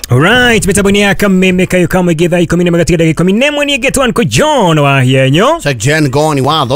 Alright, mitambo-inĩ ya kameme kayo kamwe githaa ikumi na magatiga ndagĩka ikũmi na ĩmwe niĩ ngetwo Uncle John wa Hienyo. Sir Jen Goni wa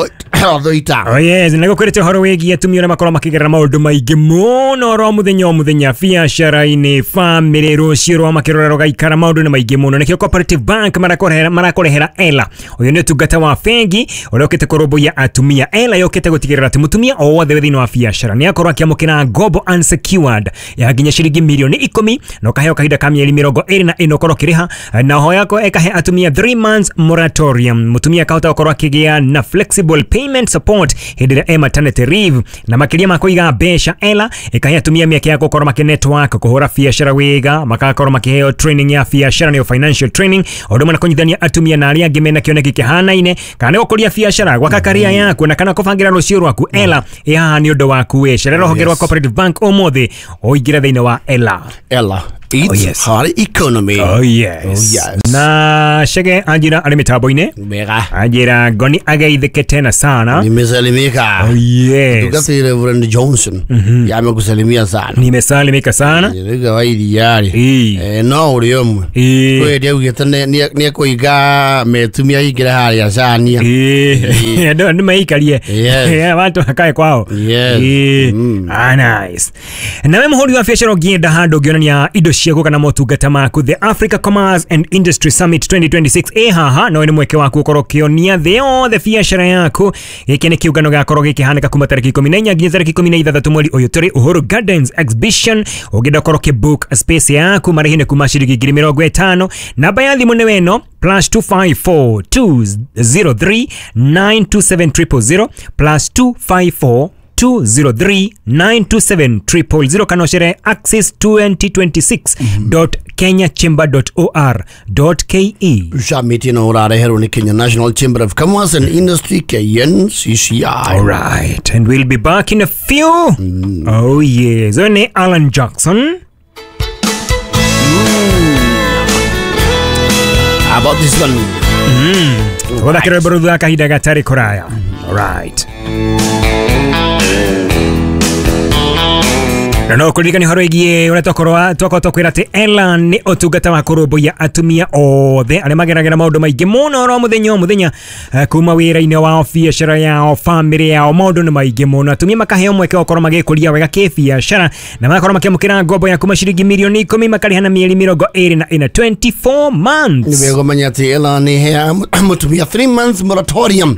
Thoita. Oh yes, na gũkwĩrĩte ũhoro wĩgiĩ atumia ũrĩa makorwo makĩgerera maũndũ maingĩ mũno oro mũthenya o mũthenya biacara-inĩ, bamĩrĩ, rũciũ rwa makĩrora rũgaikara maũndũ nĩ maingĩ mũno. Nĩkĩo Cooperative Bank marakũrehera Ela. Ũyũ nĩ ũtungata wa bengi ũrĩa ũkĩte kũrũmbũiya atumia. Ela yũkĩte gũtigĩrĩra atĩ mũtumia o wothe wĩ thĩinĩ wa biacara nĩ akorwo akĩamũkĩra ngombo unsecured ya nginya ciringi mirioni 10 na ũkaheo kahinda ka mĩeri 24 ũkorwo ũkĩrĩha, na oho yako ĩkahe atumia 3 months moratorium. Mũtumia akahota gũkorwo akĩgĩa na flexible payment support hĩndĩ ĩrĩa e maternity leave, na makĩria ma kũiga mbeca Ela ĩkahe atumia mĩeke ya gũkorwo makĩ network, kũhũra biacara wega, magakorwo makĩheo training ya biacara nĩyo financial training, o ũndũ ũmwe na kũnyitithania atumia na arĩa angĩ mena kĩoneki kĩhanaine, kana nĩ gũkũria biacara, gwaka career yaku, na kana kũbangĩra rũciũ rwaku. Ela ĩ haha nĩ ũndũ waku wĩ cerera rũhonge rwa Cooperative Bank ũmũthĩ ũingĩre thĩinĩ wa Ela. Ela. It's Oh, yes. her economy. Oh yes. Oh, yes. Na Chege anjira arĩ mĩtambo-inĩ, Mega. anjira ngoni ageithĩke tena sana. Nimesalimika. Oh yes. Tukati Reverend Johnson. Yamekusalimia sana. Nimesalimika sana. Nĩruga wa iria-rĩ. Ĩĩ. No ũrĩ ũmwe. Ĩĩ. Kwĩ augĩte nĩekũiga metumia aingĩre harĩa cania. Ĩĩ. Andũ meikarie. Yes. Watu wakae kwao. Yes. Ĩĩ. Ah, nice. Nawe mũhũri wa biacara ũngĩenda handũ ũngĩonania indo ciaku kana motungata maku, the Africa Commerce and Industry Summit 2026 ĩ haha, no nĩ mweke waku ũkorwo ũkĩonia thĩ yothe biacara yaku. Gĩkĩ nĩ kĩũngano gĩgakorwo gĩkĩhanĩka kuma tarĩki 14 nginya tarĩki 16 mweri ũyũ tũrĩ Uhuru Gardens Exhibition. Ũngĩenda ũkorwo ũkĩbook space yaku, marĩhi nĩ kuma ciringi 50,000. Namba ya thimũ nĩ weno +254 203 927 000 +254 203 927 000 kana ũcere access 2026.kenyachamber.or.ke. Summit ĩno ũrareherwo nĩ Kenya National Chamber of Commerce and Industry KNCCI. All right, and we'll be back in a few. Oh yes, ũyũ nĩ Alan Jackson. About this one. Gũthakĩra rwĩmbo rũu thutha wa kahinda gatarĩ kũraya. All right. Na no kũririkania ũhoro wĩgiĩ ũrĩa twakorwo twakwĩra atĩ Ela nĩ ũtungata wa kũrũmbũiya atumia othe arĩa mageragĩra maũndũ maingĩ mũno oro mũthenya o mũthenya, kuma wĩra-inĩ wao, biacara yao, bamĩrĩ yao, maũndũ nĩ maingĩ mũno. Atumia makaheo mweke wa gũkorwo magĩkũria wega kĩbiacara na magakorwo makĩamũkĩra ngombo ya kuma ciringi mirioni 10 makarĩha na mĩeri 24, 24 months. Nĩ wega ũmenye atĩ Ela nĩ ĩheaga mũtumia 3 months moratorium.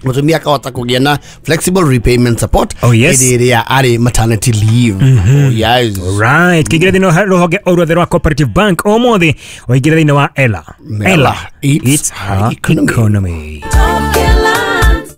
Mũtumia akahota kũgĩa na flexible repayment support Oh, yes. hĩndĩ ĩrĩa arĩ maternity leave. Oh, yes. Right, kĩingĩre thĩinĩ wa rũhonge o ruothe rwa Cooperative Bank ũmũthĩ ũingĩre thĩinĩ wa Ela. Ela. It's It's her economy. economy.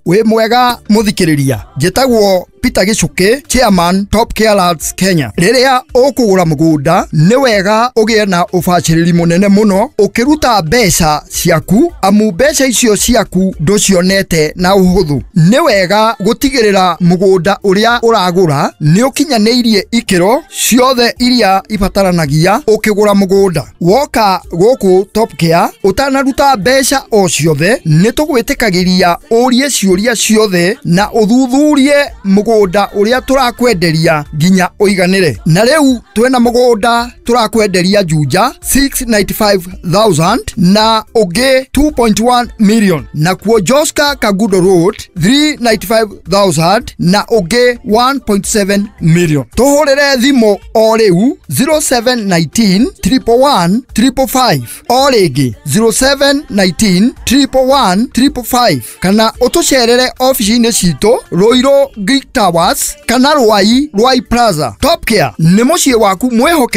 Wĩ mwega mũthikĩrĩria, njĩtagwo Peter Gichuki, chairman Top Care Lads Kenya. Rĩrĩa ũkũgũra mũgũnda nĩ wega ũgĩe na ũbacĩrĩri mũnene mũno ũkĩruta mbeca ciaku, amu mbeca icio ciaku ndũcionete na ũhũthũ. Nĩ wega gũtigĩrĩra mũgũnda ũrĩa ũragũra nĩ ũkinyanĩirie ikĩro ciothe iria ibataranagia ũkĩgũra mũgũnda. Woka gũkũ Top Care ũtanaruta mbeca o ciothe, nĩ tũgwĩtĩkagĩria ũrie ciũria ciothe na ũthuthurie mũgũnda ũrĩa tũrakwenderia nginya ũiganĩre. Na rĩu twĩna mũgũnda tũrakwenderia Juja 695,000 na ũngĩ 2.1 million, nakuo Joska Kagudo Road 395,000 na ũngĩ 1.7 million. Tũhũrĩre thimũ o rĩu 0719 111 555, o rĩngĩ 0719 111 555, kana ũtũcerere ofici-inĩ citũ Ruiru Greek Towers kana Ruai Ruai Plaza. Top Care nĩ mũciĩ waku mwĩhokeku.